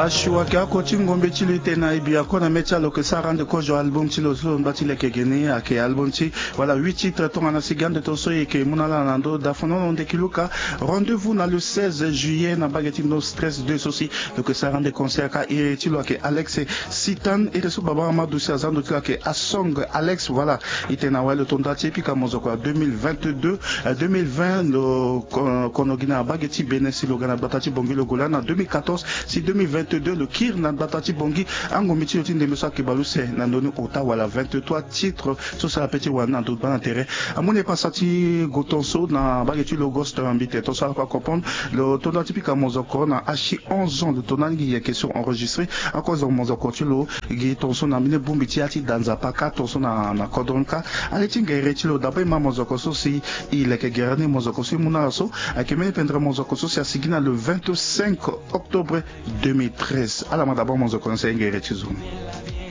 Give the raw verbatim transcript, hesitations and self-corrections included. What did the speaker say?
Asio ayeke oko ti ngombe ti lo ite na e bi ako na mê ti ala lo yeke sara ande kozo album ti lo so lo nda ti leke geni ayeke album ti wala huit titres tongana sigi ande to so e yeke mu na ala na ndö dafono na ndeki luka. Rendez-vous na le seize juillet na mbage ti no stress deux so si lo yeke sara ande concert ka iri ti lo ayeke Alex Sitan iri so baba amadou si aza ndo ti lo ayeke asong Alex. Voilà, ite na wali lo tonda ti e pika mozoko ya deux mille vingt-deux, deux mille vingt lo kono gi na mbage ti bénin si lo ga na gbata ti bongi lo gola na deux mille quatorze si deux mille vingt-deux lo kiri na gbata ti bongi. Angombe ti lo ti ndembe so ayeke baleuse na ndoni ota wala vingt-trois titres so sara pe ti wani na ndo baa na tere. Amu na e pasa ti go ton so na mbage ti lo gosto na mbi te ton so ala kue acomprendre lo tonda ti pika mozoko na achi onze ans lo tonda ni gi yeke so enregistré. Ako zo mozoko ti lo gi ton so na mbeni bongbi ti ya ti da nzapa ka ton so na na kodro ni ka. Ale ti ngere ti lo daba e ma mozoko so si e leke gere ni mozoko so e mu na ala so ayeke mbeni pendere mozoko so si asigi na le vingt-cinq octobre deux mille treize. Ala ma daba mozoko ni si aye ngere ti zo ni.